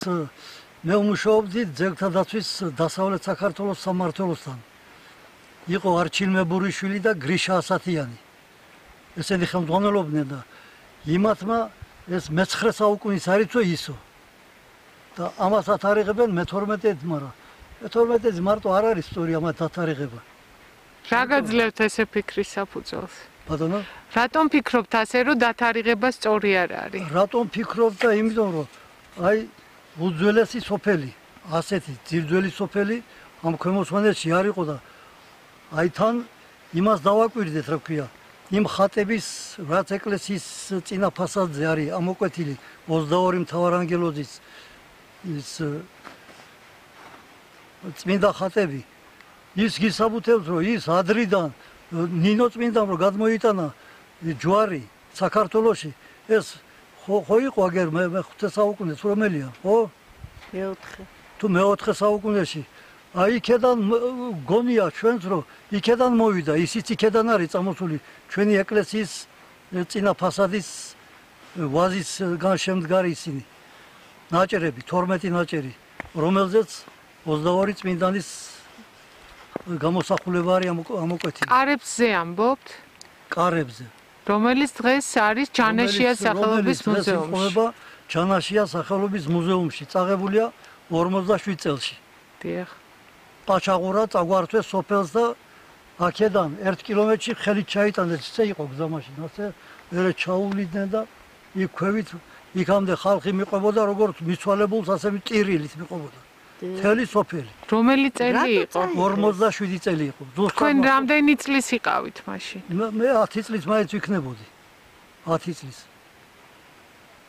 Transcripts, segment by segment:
მე ვმუშაობდი ძეგლთა დაცვის დასავლეთ საქართველოს სამმართველოსთან. იყო არჩილ მებურიშვილი და გრიშა ასათიანი. ესენი ხელმძღვანელობდნენ და იმათმა ეს მე-9 საუკუნის არიცო ისო. და ამას ათარიღებენ მე-12-ით, მაგრამ მე-12-ით მარტო არ არის სწორი ამათ ათარიღება. რა გაძლევთ ესე ფიქრის საფუძველს? ბატონო? რატომ ფიქრობთ ასე, რომ დათარიღება სწორი არ არის? რატომ ფიქრობ და იმიტომ რომ აი უძველესი სოფელი, ასეთი ძირძველი სოფელი ამ ქვემო სვანეთში არ იყო და აი თან იმას დავაკვირდეთ, რა ქვია, იმ ხატების რაც ეკლესიის წინა ფასადზე არის ამოკვეთილი 22 მთავარანგელოზის ის წმინდა ხატები. ის გისაბუთებს, რომ ის ადრიდან ნინო წმინდამ რომ გადმოიტანა ჯვარი საქართველოში, ეს ხო იყო აგერ მე-5 საუკუნეც რომელია, ხო? მე-4. თუ მე-4 საუკუნეში. აი იქედან გონია ჩვენს რომ იქედან მოვიდა, ისიც იქედან არის წამოსული ჩვენი ეკლესიის წინა ფასადის ვაზის განშემდგარი ისინი. ნაჭერები, 12 ნაჭერი, რომელზეც 22 წმინდანის გამოსახულება არის ამოკვეთილი. კარებზე ამბობთ? კარებზე. რომელიც დღეს არის ჯანაშიას სახელობის მუზეუმში. ჯანაშიას სახელობის მუზეუმში წაღებულია 47 წელში. დიახ. პაჩაღურა წაგვართვეს სოფელს და აქედან 1 კილომეტრში ხელით ჩაიტანეს, ისე იყო გზამაში, ასე მერე ჩაუვლიდნენ და იქ ქვევით იქამდე ხალხი მიყვებოდა როგორც მიცვალებულს, ასე ტირილით მიყვებოდა. მთელი სოფელი. რომელი წელი იყო? 47 წელი იყო. თქვენ რამდენი წლის იყავით მაშინ? მე 10 წლის მაინც ვიქნებოდი. 10 წლის.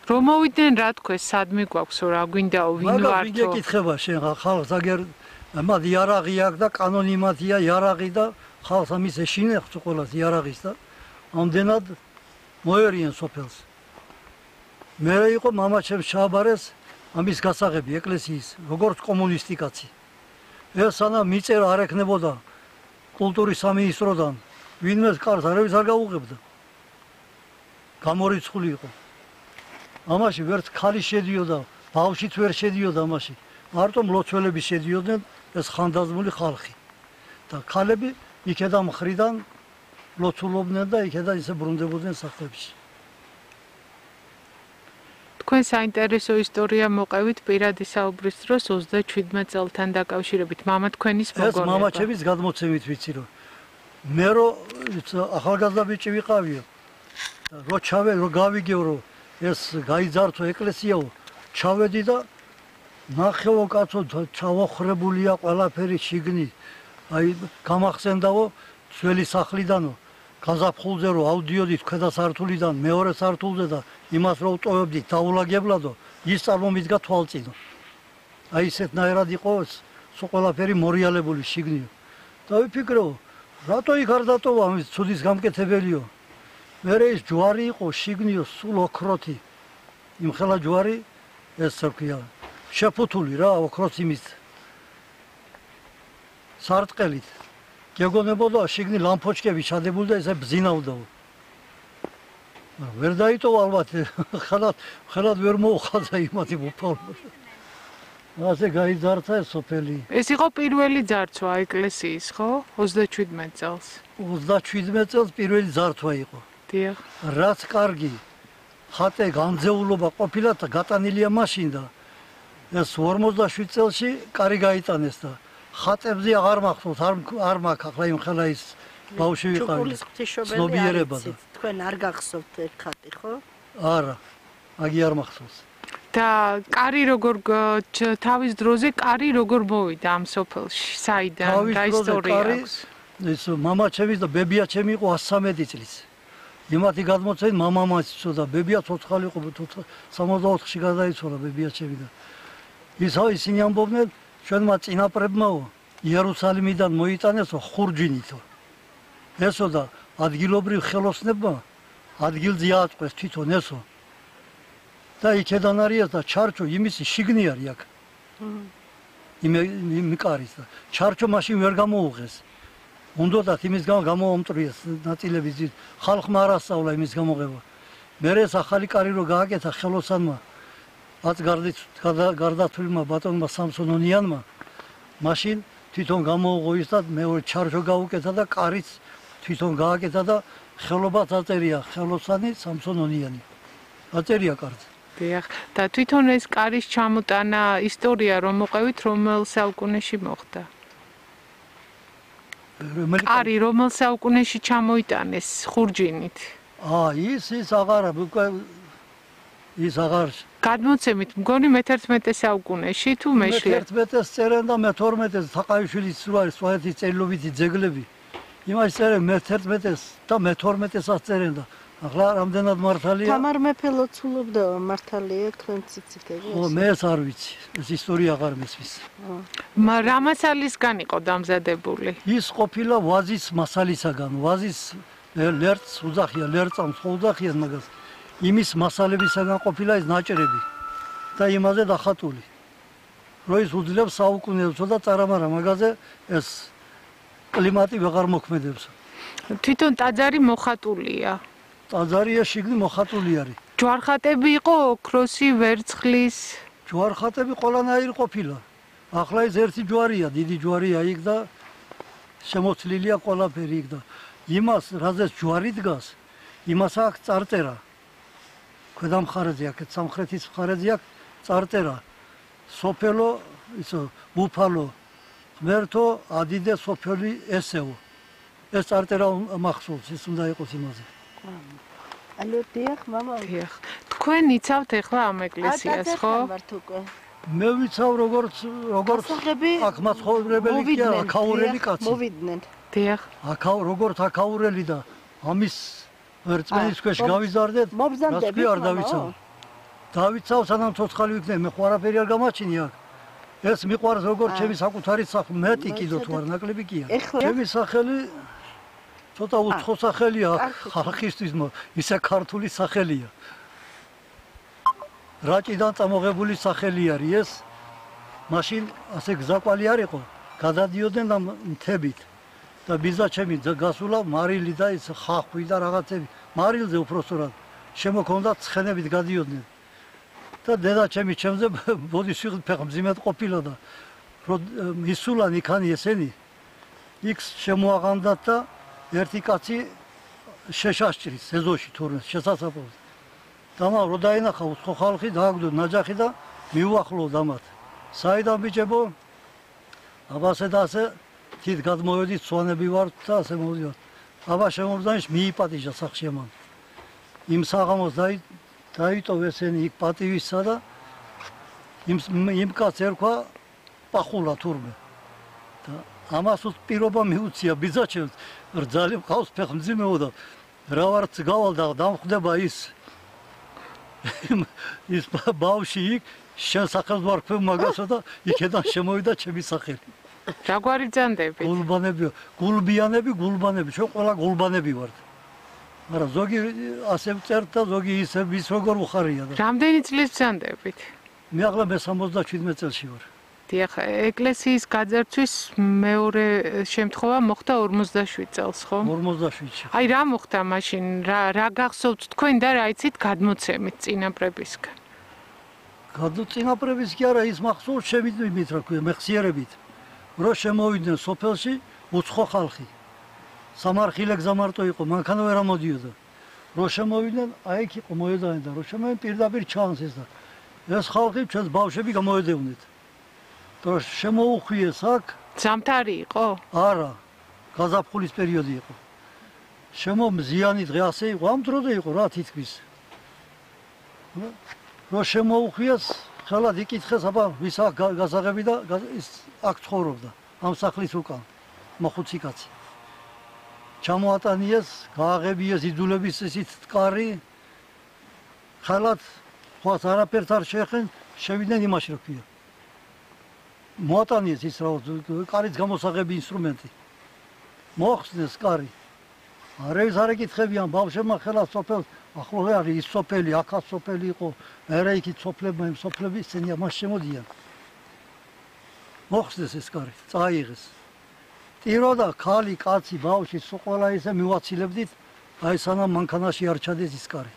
რომ მოვიდნენ რა თქვენ, სადმე გვაქვს, რა გვინდაო, ვინ ვართო? მაგა ვინ ეკითხება შენ ხალხს აგერ მათ იარაღი აქვს და კანონი მათია იარაღი და ხალხს ამის ეშინებს ყველას იარაღის და ამდენად მოერიან სოფელს. მე იყო მამაჩემ შაბარეს ამის გასაღები ეკლესიის როგორც კომუნისტი კაცი. ეს სანამ მიწერა არ ეკნებოდა კულტურის სამინისტროდან, ვინმე კარს არავის არ გაუღებდა. გამორიცხული იყო. ამაში ვერც ქალი შედიოდა, ბავშვიც ვერ შედიოდა ამაში. მარტო მლოცველები შედიოდნენ, ეს ხანდაზმული ხალხი. და ქალები იქედან მხრიდან ლოცულობდნენ და იქედან ისე ბრუნდებოდნენ სახლებში. თქვენ საინტერესო ისტორია მოყევით პირადი საუბრის დროს 37 წელთან დაკავშირებით მამა თქვენის მოგონება. ეს მამაჩემის გადმოცემით ვიცი რომ მე რომ ახალგაზრდა ბიჭი ვიყავიო. რო ჩავედი, რო გავიგეო რომ ეს გაიძართო ეკლესიაო, ჩავედი და ნახევო კაცო ჩავოხრებულია ყველაფერი შიგნით. აი გამახსენდაო ძველი სახლიდანო გაზაფხულზე რომ ავდიოდით ქვედა სართულიდან მეორე სართულზე და იმას რომ ვტოვებდით დაულაგებლადო, ის წარმომიდგა თვალწინო. აი ესეთნაირად იყო სულ ყველაფერი მორიალებული შიგნიო. და ვიფიქრო, რატო იქ არ დატოვა ამის ცუდის გამკეთებელიო. მერე ის ჯვარი იყო შიგნიო სულ ოქროთი. იმხელა ჯვარი ეს რქია შეფუთული რა ოქროს იმის სარტყელით. გეგონებოდა შიგნი ლამპოჩკები ჩადებული და ესე ბზინავდაო. ვერ დაიტოვა ალბათ, ხელად ვერ მოუხადა იმათი უფალმა. ასე გაიძარცა ეს სოფელი. ეს იყო პირველი ძარცვა ეკლესიის, ხო? 37 წელს. 37 წელს პირველი ძარცვა იყო. დიახ. რაც კარგი ხატე განძეულობა ყოფილა და გატანილია მაშინ და ეს 47 წელში კარი გაიტანეს და ხატებზე აღარ მახსოვს, არ მაქვს ახლა იმ ხელა ის ბავშვი ვიყავი. ჩუქულის ღვთისმშობელი არიცით, თქვენ არ გახსოვთ ერთ ხატი, ხო? არა, აგი არ მახსოვს. და კარი როგორ თავის დროზე კარი როგორ მოვიდა ამ სოფელში? საიდან? რა ისტორია აქვს? ეს მამაჩემის და ბებიაჩემი იყო 113 წლის. იმათი გადმოცემით მამამაც იცოდა, ბებია ცოცხალი იყო, 64-ში გადაიცვალა ბებიაჩემი და ისინი ამბობდნენ ჩვენმა წინაპრებმაო იერუსალიმიდან მოიტანესო ხურჯინითო. ესო და ადგილობრივ ხელოსნებმა ადგილზე ააწყვეს თვითონ ესო. და იქედან არის და ჩარჩო იმისი შიგნი არის აქ. იმ კარის და ჩარჩო მაშინ ვერ გამოუღეს. უნდათ იმის გამო გამოამტრიეს ნაწილები ხალხმა არ ასწავლა იმის გამოღება. მერე ეს ახალი კარი რო გააკეთა ხელოსანმა გარდაცვლილმა ბატონმა სამსონონიანმა მაშინ თვითონ გამოუღო ის და მეორე ჩარჯო გაუკეთა და კარიც თვითონ გააკეთა და ხელობაც აწერია ხელოსანი სამსონონიანი. აწერია კარზე. დიახ, და თვითონ ეს კარის ჩამოტანა ისტორია რომ მოყევით რომელ საუკუნეში მოხდა? კარი რომელ საუკუნეში ჩამოიტანეს ხურჯინით? ის აღარ გადმოცემით მგონი მე-11 საუკუნეში თუ მეშლე? მე-11-ს წერენ და მე-12-ს თაყაიშვილის სვაეთის წერილობითი ძეგლები. იმას წერენ მე-11-ს და მე-12-ს წერენ და ახლა რამდენად მართალია? თამარ მეფე ლოცულობდა მართალია თქვენ ციციქები? მე ეს არ ვიცი. ეს ისტორია აღარ მესმის. რა მასალისგან იყო დამზადებული? ის ყოფილა ვაზის მასალისაგან. ვაზის ლერწს უძახია, ლერწამს ხო უძახიან მაგას. იმის მასალებისაგან ყოფილა ეს ნაჭრები და იმაზე დახატული. რო ის უძლებს საუკუნეებს და წარამარა მაგაზე ეს კლიმატი ვეღარ მოქმედებს. თვითონ ტაძარი მოხატულია. ტაძარია შიგნით მოხატული არის. ჯვარხატები იყო ოქროსი, ვერცხლის. ჯვარხატები ყველანაირი ყოფილა. ახლა ეს ერთი ჯვარია, დიდი ჯვარია იქ და შემოცლილია ყველაფერი იქ და იმას, რაზეც ჯვარი დგას, იმას აქვს წარწერა. ქვედა მხარეზე აქ, სამხრეთის მხარეზე აქ წარწერა. სოფელო, ბუფალო, ღმერთო, ადიდე სოფელი ესეო. ეს წარწერა მახსოვს, ის უნდა იყოს იმაზე. ალო დიახ, მამა. დიახ. თქვენ იცავთ ახლა ამ ეკლესიას, ხო? მე ვიცავ როგორც აქ მაცხოვრებელი კი არა, აქაურელი კაცი. მოვიდნენ. დიახ. როგორც აქაურელი და ამის ვერწმენის ქვეშ გავიზარდეთ, რას კი არ დავიცავ. დავიცავ სანამ ცოცხალი ვიქნები, მე ხო არაფერი არ გამაჩინი აქ. ეს მიყვარს როგორც ჩემი საკუთარი სახლი, მეტი კიდო თუ არ ნაკლები კი არა. ჩემი სახელი ცოტა უცხო სახელია ხალხისთვის, ისე ქართული სახელია. რაჭიდან წამოღებული სახელი არის ეს. მაშინ ასე გზაკვალი არ იყო, გადადიოდნენ ამ მთებით. და ბიზა ჩემი გასულა მარილი და ის ხახვი და რაღაცები. მარილზე უпроსტორად შემოქონდა ცხენებით გადიოდნენ. და დედა ჩემი ჩემზე ბოდიშ ფეხმძიმედ ყოფილა და ისულან იქანი ესენი იქ შემოაღამდათ და ერთი კაცი შეშაშჭრის ეზოში თურმე შესაძაფოს. დამა რო დაინახა უცხო ხალხი დააგდო ნაჯახი და მიუახლოვ დამათ. საიდან ბიჭებო? აბასე და ასე თით გადმოვედით, სვანები ვართ და ასე მოვიდოთ. აბა შემოძანიშ მიიპატიჟა სახში ამან. იმ საღამოს დაიტოვ ესენი იქ პატივისა და იმ კაცს ერქვა პახულა თურმე. და ამას პირობა მიუცია ბიძაჩემს, რძალი მყავს ფეხმძიმეო და რა ვარც გავალ და დამხვდება ის ბავში იქ შენ სახელს ვარქვევ მაგასო და იქედან შემოვიდა ჩემი სახელი. რა გვარი ბრძანდები? გულბიანები, ჩვენ ყველა გულბანები ვართ. მაგრამ ზოგი ასე წერთ და ზოგი ისე ვის როგორ უხარია და. რამდენი წლის ბრძანდებით? მე ახლა მე-77 წელში ვარ. დიახ, ეკლესიის გაძარცვის მეორე შემთხვევა მოხდა 47 წელს, ხო? 47-ში. აი რა მოხდა მაშინ? რა გახსოვთ თქვენ და რა იცით გადმოცემით წინაპრებისგან? წინაპრების კი არა, ის მახსოვს შემიძლია რა ქვია, მეხსიერებით. რო შემოვიდნენ სოფელში უცხო ხალხი. სამარხილე გზამარტო იყო, მანქანა ვერ ამოდიოდა. რო შემოვიდნენ, აი იქ იყო მოედანი და რო შემოვიდნენ პირდაპირ ჩანს ეს და ეს ხალხი ჩვენს ბავშვები გამოედევნეთ. და შემოუხვიეს აქ. ზამთარი იყო? არა, გაზაფხულის პერიოდი იყო. შემომზიანი დღე ასე იყო, ამ დროზე იყო რა თითქმის. რო შემოუხვიეს, ხელად იკითხეს, აბა ვის აქ გასაღები და ის აქ ცხოვრობდა, ამ სახლის უკან, მოხუცი კაცი. ჩამოატანიეს, გააღებიეს იძულების ისიც ტყარი. ხელად ხوات არაფერთ არ შეეხენ, შევიდნენ იმაში რა ქვია. მოატანიეს ის რა კარის გამოსაღები ინსტრუმენტი. მოხსნეს კარი. არავის არ ეკითხებიან ბავშვებმა ხელად სოფელს, ახლოვე არის ის სოფელი, აქაც სოფელი იყო, არა იქით სოფლებმა, იმ სოფლები ისინი ამას შემოდიან. მოხსნეს ეს კარი, წაიღეს. ტიროდა ქალი, კაცი, ბავშვი, ყველა ისე მივაცილებდით, აი სანამ მანქანაში არ ჩადეს ის კარი.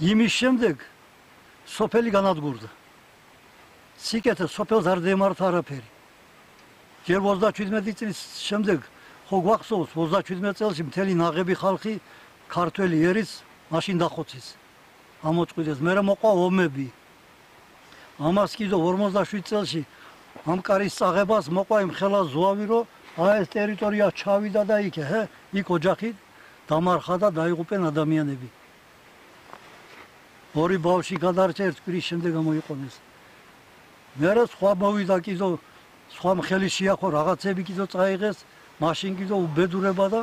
იმის შემდეგ სოფელი განადგურდა. სიკეთე სოფელს არ დემართა არაფერი. ჯერ 37 წლის შემდეგ ხო გვახსოვს 37 წელს მთელი ნაღები ხალხი ქართველი ერის მაშინ დახოცეს. ამოწყვიტეს, მერე მოყვა ომები. ამას კიდევ 57 წელში ამ კარის წაღებას მოყვა იმ ხელა ზვავი, რომ ეს ტერიტორია ჩავიდა და იქ ოჯახი დამარხა და დაიღუპენ ადამიანები. ორი ბავშვი გადარჩა ერთ კვირის შემდეგ გამოიყენეს. მერე სხვა მოვიდა კიდევ სხვა მხელი შეახო რაღაცები კიდევ წაიღეს, მაშინ კიდევ უბედურება და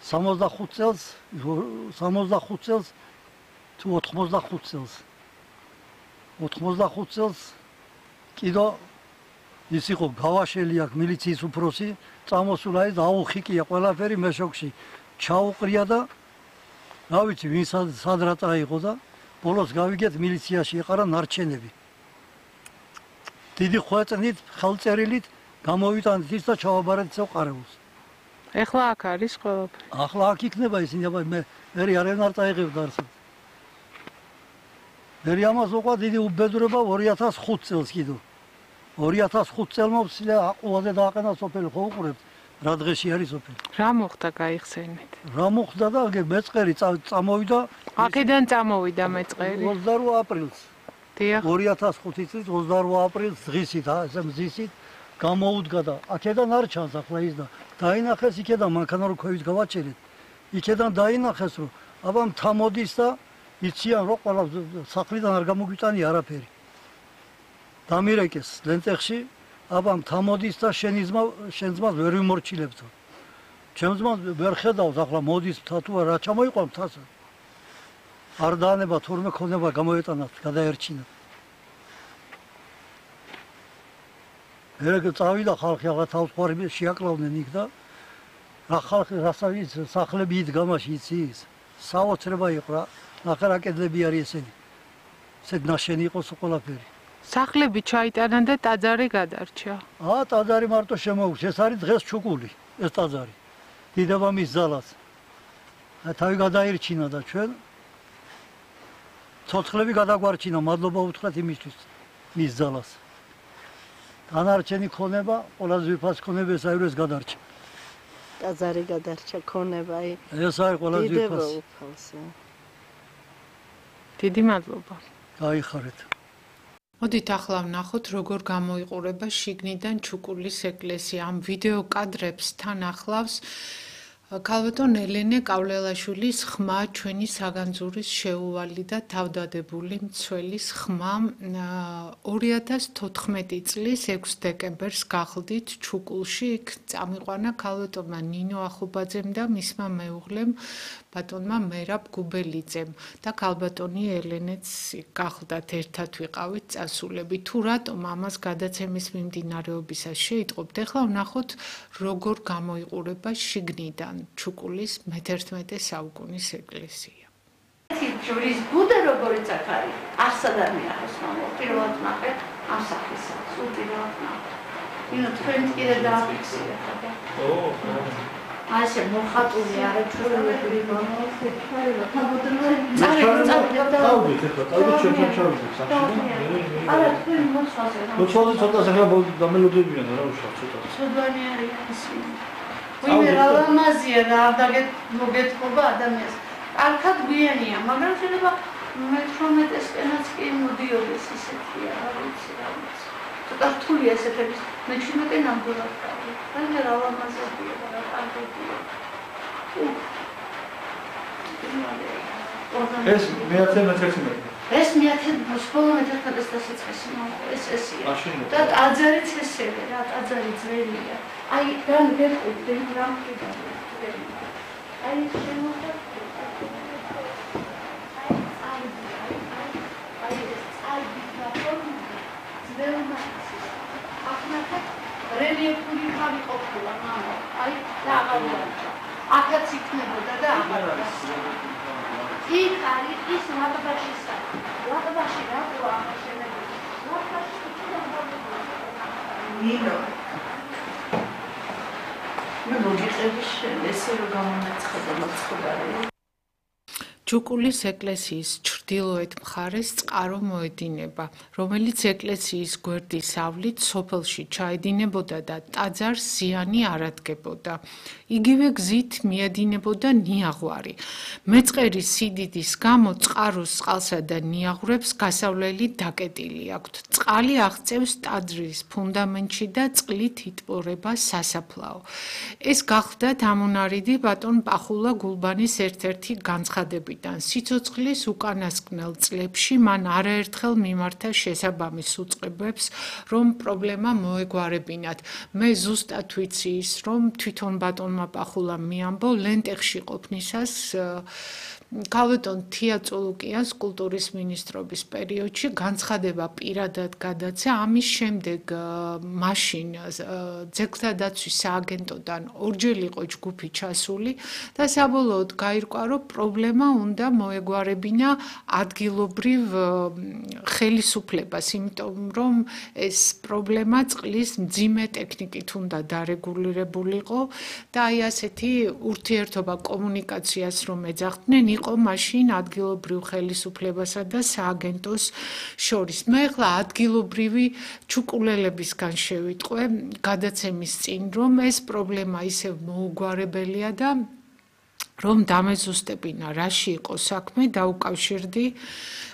65 წელს თუ 85 წელს 85 წელს კიდევ ის იყო გავაშელი აქ მილიციის უფროსი, წამოსულა ის აუხიკია ყველაფერი მეშოქში ჩაუყრია და რა ვიცი ვინ სად რა წაიღო და ბოლოს გავიგეთ მილიციაში ეყარა ნარჩენები. დიდი ხვეწნით, ხელწერილით გამოვიტანეთ ის და ჩავაბარეთ ეს ყარეულს. ეხლა აქ არის ყველაფერი. ახლა აქ იქნება ისინი, აბა მე არიან არ წაიღებდა არსად. მე ამას უყვა დიდი უბედურება 2005 წელს კიდევ. 2005 წელმა ვცილე აყუაზე დააყენა სოფელი, ხო უყურებთ რა დღეში არის სოფელი. რა მოხდა გაიხსენეთ? რა მოხდა და მეწყერი წამოვიდა. აქედან წამოვიდა მეწყერი 28 აპრილს. დიახ. 2005 წლის 28 აპრილს დღისით, ესე მზისით გამოუდგა და აქედან არ ჩანს ახლა ის და დაინახეს იქედან მანქანა რო ქვევით გავაჩერეთ. იქედან დაინახეს რომ აბა მთამოდის და იციან რომ ყველა სახლიდან არ გამოგვიტანია არაფერი. დამირეკეს ლენტეხში, აბა მთამოდის და შენ ძმას ვერ ვიმორჩილებთო. ჩემ ძმას ვერ ხედავს ახლა მოდის მთა თუ რა ჩამოიყვა მთას. არ დაანება თურმე ქონება გამოეტანათ, გადაერჩინა. ერეგ წავიდა ხალხი ახლა თავსხმარები შეაკლავდნენ იქ და რა ხალხი რასავით სახლები იდგა მაშინ იცის. საოცრება იყო რა. ახლა რა კედლები არის ესენი. ესეთ ნაშენი იყო ყველაფერი. სახლები ჩაიტანა და ტაძარი გადარჩა. ტაძარი მარტო შემოუშვეს. ეს არის დღეს ჩუკული, ეს ტაძარი. დიდებამის ძალას. თავი გადაირჩინა და ჩვენ ცოცხლები გადაგვარჩინა, მადლობა უთხრათ იმისთვის მის ძალას. დანარჩენი ქონება, ყველაზე ვიფას ქონება ეს არის გადარჩა. ტაძარი გადარჩა ქონება, ეს არის ყველაზე ვიფას. დიდი მადლობა. გაიხარეთ. მოდით ახლა ვნახოთ როგორ გამოიყურება შიგნიდან ჩუკულის ეკლესია. ამ ვიდეო კადრებს თან ახლავს ქალბატონ ელენე კავლელაშვილის ხმა, ჩვენი საგანძურის შეუვალი და თავდადებული მცველის ხმა. 2014 წლის 6 დეკემბერს გახლდით ჩუკულში, იქ წამიყვანა ქალბატონმა ნინო ახუბაძემ და მისმა მეუღლემ ბატონმა მერაბ გუბელიძემ და ქალბატონი ელენეც გახლდათ, ერთად ვიყავით წასულები. თუ რატომ ამას გადაცემის მიმდინარეობისას შეიტყობთ, ახლა ვნახოთ როგორ გამოიყურება შიგნიდან ჩუკულის მე-11 საუკუნის ეკლესია. ჯვრის ბუდა როგორიც აქ არის, არსად არ მიახოს მამა, პირველად ნახეთ ამ სახისა, სულ პირველად ნახეთ. ნინო თქვენ კიდე დააფიქსირეთ, აბა. აი ესე მოხატული არა ჩვენები მომხდარა. არა თქვენ მოსვაზე. მოსვაზე ცოტა სახლა დამელოდებიან რა უშავ ცოტა. ცოდვანი არის ისინი. ვინმე რა ლამაზია და არ მოგეთხოვა ადამიანს. არქად გვიანია, მაგრამ შეიძლება მე-18-სკენაც კი მოდიოდეს ისეთია, რა ვიცი, რა ვიცი. ცოტა რთულია ესეთების, მე-17 ნამდვილად გავი. ვინმე რა ლამაზია და რა კარგია. ეს მე-11 ეს მე-11 მე-11-ის ეს ესია. და ტაძარიც ესეა, რა ტაძარი ძველია. აი, რან გეტყვით, რა მყიდავთ. აი, შემოხდა რელიეფური ხარი ყოფილა მამა. აი, და აღარ აქაც იქნებოდა და აღარ არის. იქ არის ის ლაბაში. ლაბაში რატო აღაშენებოდა? ლაბაში ნინო. მე მოგიწევს ესე რომ გამონაცხადა მაცხადარი. ჩუკულის ეკლესიის ჩრდილოეთ მხარეს წყარო მოედინება, რომელიც ეკლესიის გვერდის ავლით სოფელში ჩაედინებოდა და ტაძარს ზიანი არ ადგებოდა. იგივე გზით მიედინებოდა ნიაღვარი. მეწყერის სიდიდის გამო წყაროს წყალსა და ნიაღვრებს გასავლელი დაკეტილი აქვთ. წყალი აღწევს ტაძრის ფუნდამენტში და წყლით იტბორება სასაფლაო. ეს გახლდათ ამონარიდი ბატონ პახულა გულბანის ერთ-ერთი განცხადებიდან. სიცოცხლის უკანასკნელ წლებში მან არაერთხელ მიმართა შესაბამის უწყებებს, რომ პრობლემა მოეგვარებინათ. მე ზუსტად ვიცი ის, რომ თვითონ ბატონმა პახულამ მიამბო ლენტეხში ყოფნისას ქალბატონ თია წულუკიანს კულტურის მინისტრობის პერიოდში განცხადება პირადად გადაცა. ამის შემდეგ მაშინ ძეგლთა დაცვის სააგენტოდან ორჯერ იყო ჯგუფი ჩასული და საბოლოოდ გაირკვა, რომ პრობლემა უნდა მოეგვარებინა ადგილობრივ ხელისუფლებას, იმიტომ რომ ეს პრობლემა წყლის მძიმე ტექნიკით უნდა დარეგულირებულიყო და აი ასეთი ურთიერთობა კომუნიკაციას რომ ეძახდნენ იყო მაშინ ადგილობრივ ხელისუფლებასა და სააგენტოს შორის. მე ახლა ადგილობრივი ჩუკულელებისგან შევიტყვე გადაცემის წინ, რომ ეს პრობლემა ისევ მოუგვარებელია და რომ დამეზუსტებინა რაში იყო საქმე, დაუკავშირდი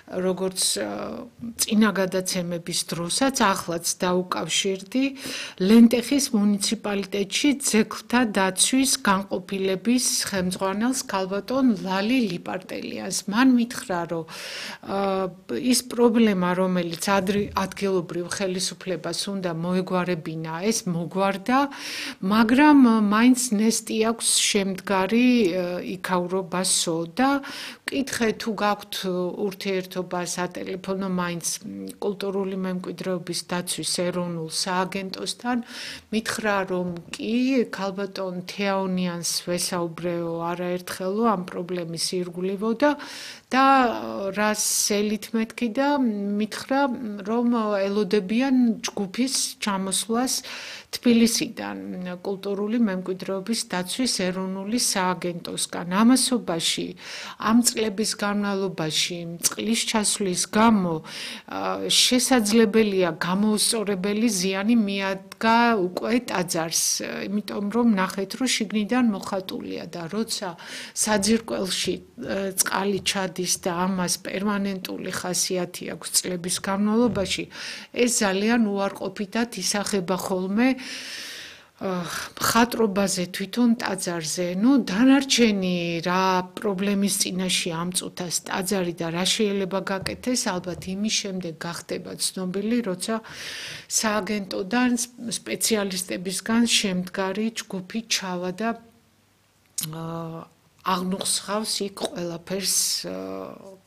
როგორც წინა გადაცემების დროსაც, ახლაც დაუკავშირდი ლენტეხის მუნიციპალიტეტში ძეგლთა დაცვის განყოფილების ხელმძღვანელს ქალბატონ ლალი ლიპარტელიანს. მან მითხრა, რომ ის პრობლემა, რომელიც ადგილობრივ ხელისუფლებას უნდა მოეგვარებინა, ეს მოგვარდა, მაგრამ მაინც ნესტი აქვს შემდგარი იქაურობასო და ვკითხე თუ გაქვთ ურთიერთობა სატელეფონო მაინც კულტურული მემკვიდრეობის დაცვის ეროვნულ სააგენტოსთან, მითხრა, რომ კი ქალბატონ თეაონიანს ვესაუბრეო არაერთხელო ამ პრობლემის ირგვლივო და რას ელით მეთქი და მითხრა, რომ ელოდებიან ჯგუფის ჩამოსვლას თბილისიდან კულტურული მემკვიდრეობის დაცვის ეროვნული სააგენტოსგან. ამასობაში ამ წლების განმავლობაში წყლის ჩასვლის გამო შესაძლებელია გამოუსწორებელი ზიანი მიადგა უკვე ტაძარს, იმიტომ რომ ნახეთ, რომ შიგნიდან მოხატულია და როცა საძირკველში წყალი ჩადის და ამას პერმანენტული ხასიათი აქვს წლების განმავლობაში, ეს ძალიან უარყოფითად ისახება ხოლმე მხატვრობაზე თვითონ ტაძარზე. დანარჩენი რა პრობლემის წინაშე ამწუთას ტაძარი და რა შეიძლება გაკეთდეს, ალბათ იმის შემდეგ გახდება ცნობილი, როცა სააგენტოდან სპეციალისტებისგან შემდგარი ჯგუფი ჩავა და აღნუხსხავს იქ ყველაფერს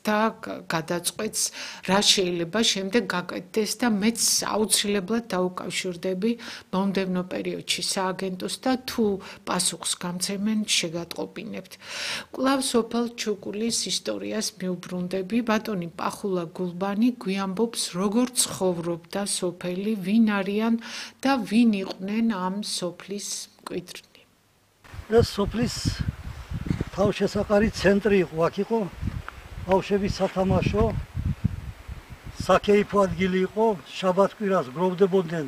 და გადაწყვეტს, რა შეიძლება შემდეგ გაკეთდეს და მეც აუცილებლად დაუკავშირდები მომდევნო პერიოდში სააგენტოს და თუ პასუხს გამცემენ, შეგატყობინებთ. კვლავ სოფელ ჩუკულის ისტორიას მიუბრუნდები. ბატონი პახულა გულბანი გვიამბობს, როგორ ცხოვრობდა სოფელი, ვინ არიან და ვინ იყვნენ ამ სოფლის მკვიდრნი. ეს სოფლის თავშესაყარი ცენტრი იყო, აქ იყო ბავშვების სათამაშო, საკეიფო ადგილი იყო, შაბათ-კვირას გროვდებოდნენ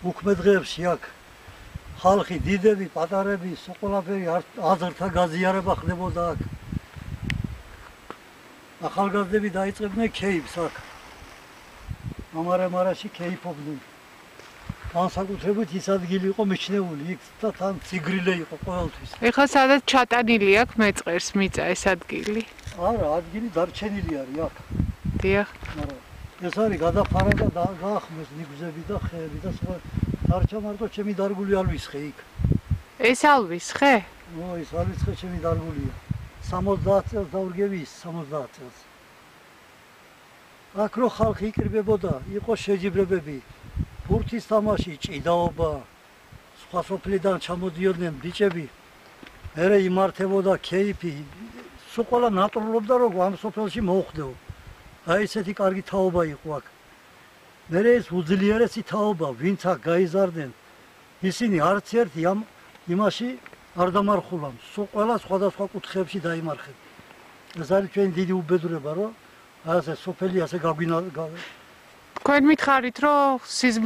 უქმე დღეებში აქ ხალხი, დიდები, პატარები, ყველაფერი აზრთა გაზიარება ხდებოდა აქ. ახალგაზრდები დაიწყებდნენ ქეიფს აქ. ამარამარაში ქეიფობდნენ. განსაკუთრებით ის ადგილი იყო მიჩნეული, იქ და თან ციგრილე იყო ყოველთვის. ეხლა სადაც ჩატანილი აქვს მეწყერს მიწა ეს ადგილი? არა, ადგილი დარჩენილი არის აქ. დიახ. მაგრამ ეს არის გადაფარა და გაახმეს ნიგზები და ხეები და სხვა. დარჩა მარტო ჩემი დარგული ალვისხე იქ. ეს ალვისხე? ეს ალვისხე ჩემი დარგულია. 70 წელს დავრგები ის 70 წელს. აქ რო ხალხი იკრიბებოდა, იყო შეჯიბრებები. ფურთის თამაში, ჭიდაობა, სხვა სოფლიდან ჩამოდიოდნენ ბიჭები, მერე იმართებოდა ქეიფი, სულ ყველა ნატრულობდა, რომ ამ სოფელში მოუხდეო. აი ესეთი კარგი თაობა იყო აქ. მერე ეს უძლიერესი თაობა, ვინც აქ გაიზარდნენ, ისინი არც ერთი იმაში არ დამარხულან, სულ ყველა სხვადასხვა კუთხეებში დაიმარხეს. ეს არის ჩვენი დიდი უბედურება, რომ ასე სოფელი ასე გაგვინა თქვენ მითხარით რომ სიზმრე